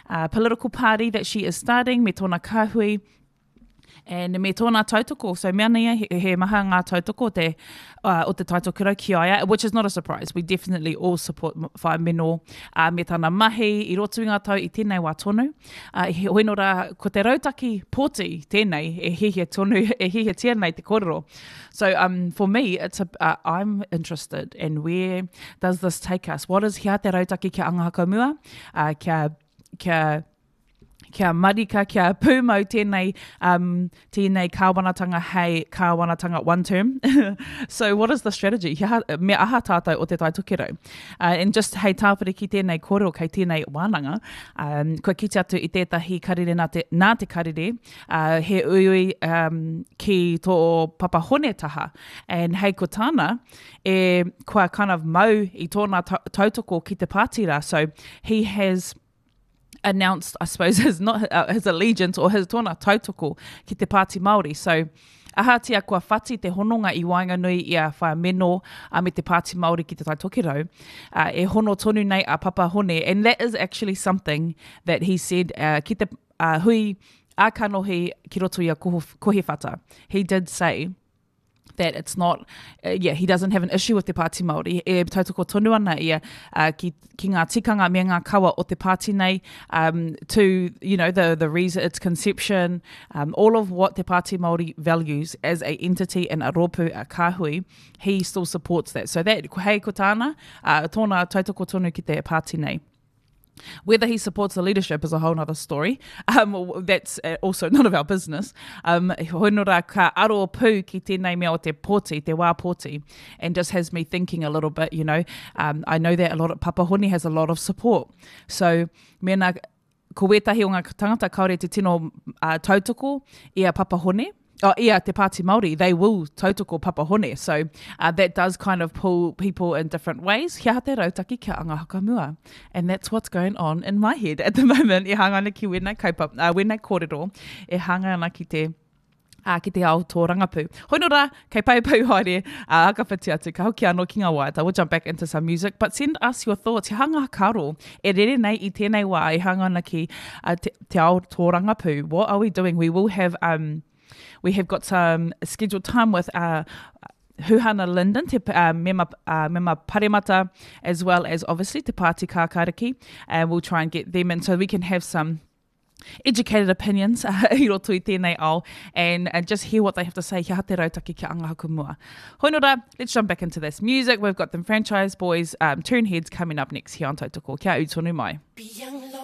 uh, political party that she is starting me tōna kāhui and me tōna tautoko. So mea nei he, he maha ngā tautoko te, uh, o te taitokura ki a ia, which is not a surprise. We definitely all support Whaea Meno uh, me tana mahi i roto i ngā tau i tēnei wā tonu. Uh, heoi nō rā, ko te rautaki pōti tēnei e hihia tonu, e hihiatia nei te kōrero. So um, for me, it's a, uh, I'm interested in where does this take us? What is he aha te rautaki kia anga hakamua, uh, kia, kia kia marika, kia pūmau tēnei, um, tēnei kāwanatanga hei kāwanatanga one term. so what is the strategy? He aha, me aha tātou o te Tai Tokerau? Uh, and just hei tāpiri ki tēnei kōrero kei tēnei wānanga, um, kua kite atu i tētahi karere nā te, nā te karere, uh, he uiui um, ki tō Papa Hone taha. And hei ko tāna, e, kua kind of mau i tōna tautoko ki te pāti rā. So he has announced, I suppose, his, not, uh, his allegiance or his tōna tautoko ki te Pāti Māori. So, ahatia kua whati te hononga i waenganui i a Whaea Meno a me te Pāti Māori ki te Tai Tokerau, uh, e hono tonu nei a Papa Hone. And that is actually something that he said uh, ki te uh, hui a kanohi ki roto i a Kohiwhata. He did say, that it's not, uh, yeah, he doesn't have an issue with te Pāti Māori. E tautoko tonu ana ia uh, ki, ki ngā tikanga me ngā kawa o te pāti nei, um, to, you know, the, the reason, its conception, um, all of what te Pāti Māori values as a entity and a rōpū, a kāhui, he still supports that. So that, hei ko tāna, uh, tōna tautoko tonu ki te pāti nei. Whether he supports the leadership is a whole other story. Um, that's uh, also none of our business. Um, hoi nō rā, ka aro pū ki tēnei mea o te pōti, te wā pōti, and just has me thinking a little bit, you know. Um, I know that a lot of, Papa Honi has a lot of support. So, mēnā, ko wētahi o ngā tangata kāore te tino uh, tautoko i a Papa Hone, oh, yeah, Te Pāti Māori, they will tautoko Papa Hone. So uh, that does kind of pull people in different ways. He aha te rautaki kia anga hakamua. And that's what's going on in my head at the moment. E hanga ana ki wēnei kaupapa, uh, wēnei kōrero, e hanga ana ki te uh, ki te ao tōrangapū. Hoi nō rā, kei pai pau haere, uh, ka whiti atu, ka hoki anō ki ngā waiata. We'll jump back into some music, but send us your thoughts. He hanga karo e rere nei i tēnei wā, e hanga ana ki uh, te, te ao tōrangapū. What are we doing? We will have, um, we have got some scheduled time with uh, Huhana Lyndon, te uh, mema, uh, mema paremata, as well as obviously te Pāti Kākāriki, and we'll try and get them in so we can have some educated opinions uh, i roto i tēnei ao and, and just hear what they have to say. He aha te rautaki kia anga haku mua. Hoi nō rā, let's jump back into this music. We've got them franchise boys, um, Turn Heads coming up next here on Tautoko. Kia ū tonu mai. Be young.